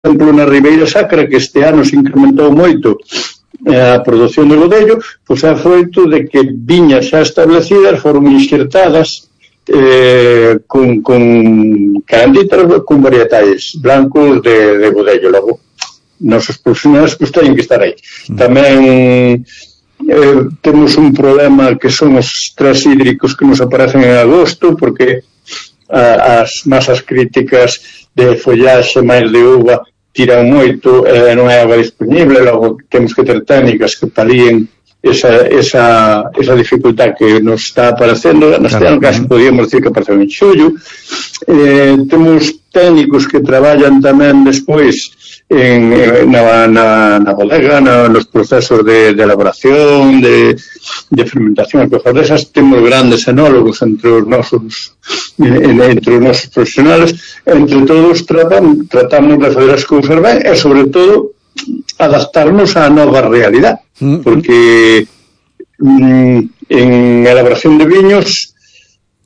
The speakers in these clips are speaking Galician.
exemplo, na Ribeira Sacra, que este ano se incrementou moito a produción de godello, pois é froito de que viñas xa establecidas foron inxertadas con caranditas con varietais blancos de godello. Logo, nosos profesionais pois teñen que estar aí. Tamén temos un problema que son os estrés hídricos que nos aparecen en agosto, porque as masas críticas de follaxe máis de uva tiran moito, non é agua disponible, logo temos que ter técnicas que palíen esa dificultad que nos está aparecendo. Neste ano casi podíamos decir que apareceu en xullo. Temos técnicos que traballan tamén despois na bodega, nos procesos de elaboración, de fermentación, e cosas desas. Temos grandes enólogos entre os nosos profesionales. Entre todos tratamos de fazer as cousas ben e, sobre todo, adaptarnos á nova realidade, porque en elaboración de viños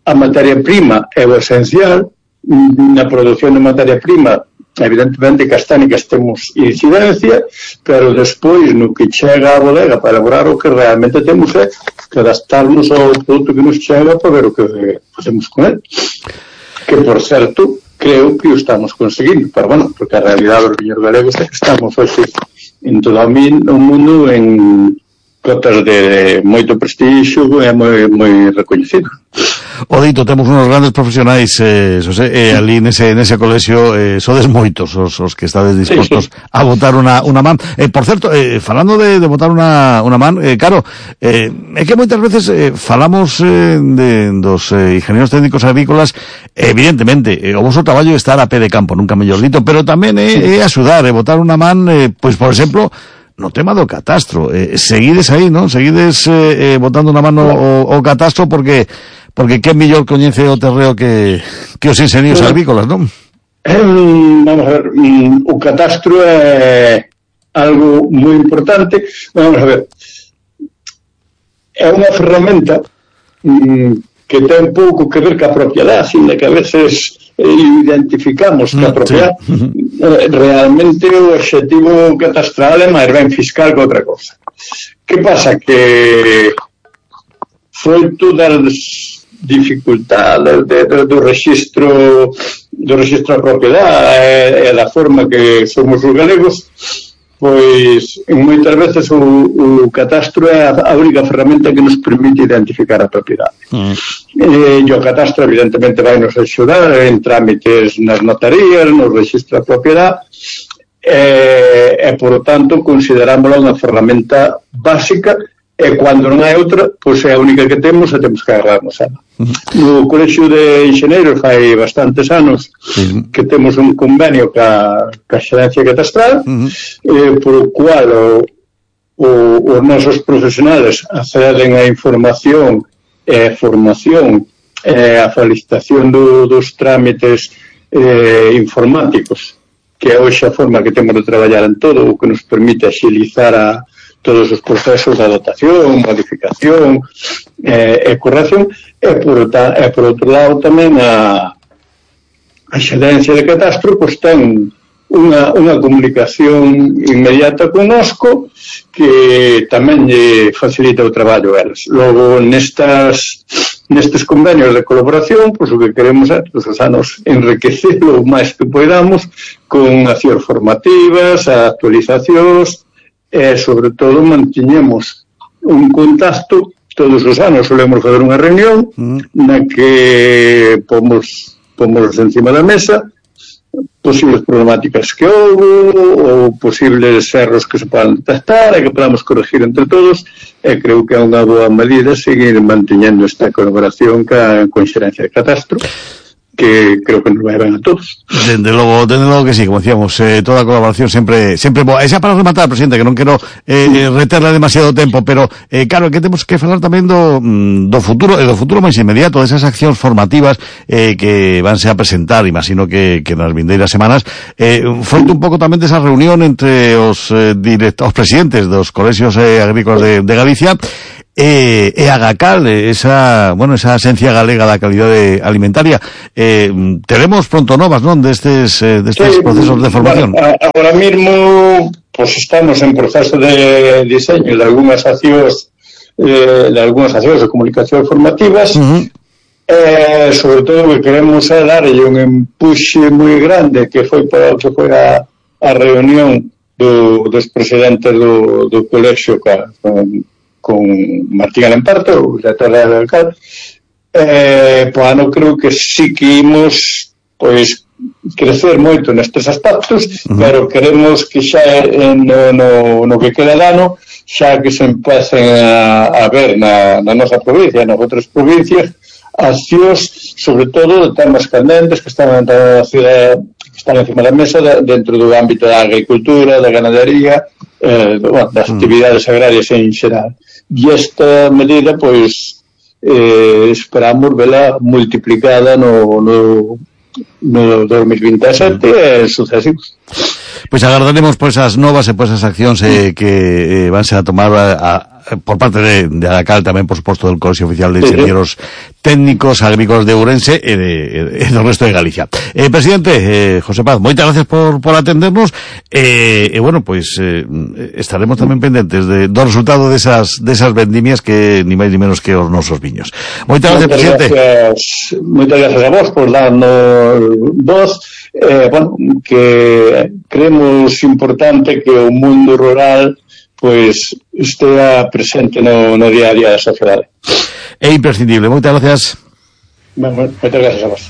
a materia prima é o esencial. Na produción de materia prima, evidentemente, que as técnicas temos incidencia, pero despois no que chega á bodega para elaborar o que realmente temos é que adaptarnos ao produto que nos chega para ver o que facemos con ele, que, por certo, creo que o estamos conseguindo, pero bueno, porque a realidade dos viños galegos é que estamos hoxe en todo o mundo en cotas de moito prestixio e moi recoñecido. O dito, temos unos grandes profesionais, Xosé, ali nese colexio sodes moitos os que estades dispostos a botar unha man. Por certo, falando de botar unha man, claro, é que moitas veces falamos dos ingenieros técnicos agrícolas, evidentemente, o vosso traballo é estar a pé de campo, nunca mellor dito, pero tamén é axudar, botar unha man, pois, por exemplo, no tema do catastro. Seguides aí, non? Seguides botando unha mano o catastro porque que mellor coñece o terreo que os ingenieros agrícolas, non? Vamos a ver, o catastro é algo moi importante. Vamos a ver, é unha ferramenta que ten pouco que ver ca propiedade, sino que a veces identificamos que a propiedade realmente o obxectivo catastral é máis ben fiscal que outra cosa. Que pasa? Que froito das dificultades do registro da propiedade e da forma que somos os galegos, pois moitas veces o catastro é a única ferramenta que nos permite identificar a propiedade. E o catastro evidentemente vai nos axudar en trámites nas notarías, nos registro da propiedade, e por lo tanto considerámosla unha ferramenta básica, e cando non hai outra, pois é a única que temos e temos que agarrarnos a ela. No Colexio de Enxeneiros fai bastantes anos que temos un convenio ca Xerencia Catastral, por o cual os nosos profesionales acceden a información e formación e a felicitación dos trámites informáticos, que é hoxe a forma que temos de traballar en todo, o que nos permite axilizar todos os procesos de adaptación, modificación e corrección, e por outro lado tamén a Xerencia de Catastro pois ten unha comunicación inmediata connosco que tamén lle facilita o traballo a eles. Logo, nestes convenios de colaboración, pois o que queremos é todos os anos enriquecelo o máis que poidamos con accións formativas, actualizacións, e, sobre todo, mantiñemos un contacto todos os anos. Solemos fazer unha reunión na que pomos encima da mesa posibles problemáticas que houve ou posibles erros que se podan detectar e que podamos corregir entre todos, e creo que é unha boa medida seguir mantiñendo esta colaboración con Xerencia de Catastro, que creo que nos vai ben a todos. Dende logo que sí, como decíamos, toda a colaboración sempre boa. E xa para rematar, presidente, que non quero reterla demasiado tempo, pero claro, que temos que falar tamén do futuro, e do futuro máis inmediato, desas accións formativas que vanse a presentar, imagino que nas vindeiras semanas, froito un pouco tamén desa reunión entre os presidentes dos colexios agrícolas de Galicia, Agacal, esa esencia galega da calidade alimentaria. Teremos pronto novas, non, destes procesos de formación? Bueno, ahora mismo pues estamos en proceso de diseño de algunhas accións de comunicación formativas. Sobre todo que queremos darlle un empuxe moi grande que foi a reunión dos presidentes do colexio con Martín Alemparto, o director da Agacal. Pois ano creo que sí que imos pois crecer moito nestes aspectos, pero queremos que xa no que queda de ano xa que se empecen a ver na nosa provincia, nas outras provincias, accións, sobre todo, de temas candentes que están na cidade, que están encima da mesa dentro do ámbito da agricultura, da ganadería, das actividades agrarias en xeral. E esta medida, pois, esperamos vela multiplicada no 2027 e sucesivos. Pois agardaremos as novas e as accións que van ser a tomar por parte de Agacal, tamén, por suposto, del Colexio Oficial de Ingenieros Técnicos Agrícolas de Ourense e do resto de Galicia. Presidente, José Paz, moitas gracias por atendernos bueno, pois estaremos tamén pendentes do resultado desas vendimias que ni máis ni menos que os nosos viños. Moitas gracias, presidente. Moitas gracias a vos por darnos voz. Bueno, que creemos importante que o mundo rural pois estea presente no día a día da sociedade. É imprescindible. Moitas gracias. Moitas gracias a vos.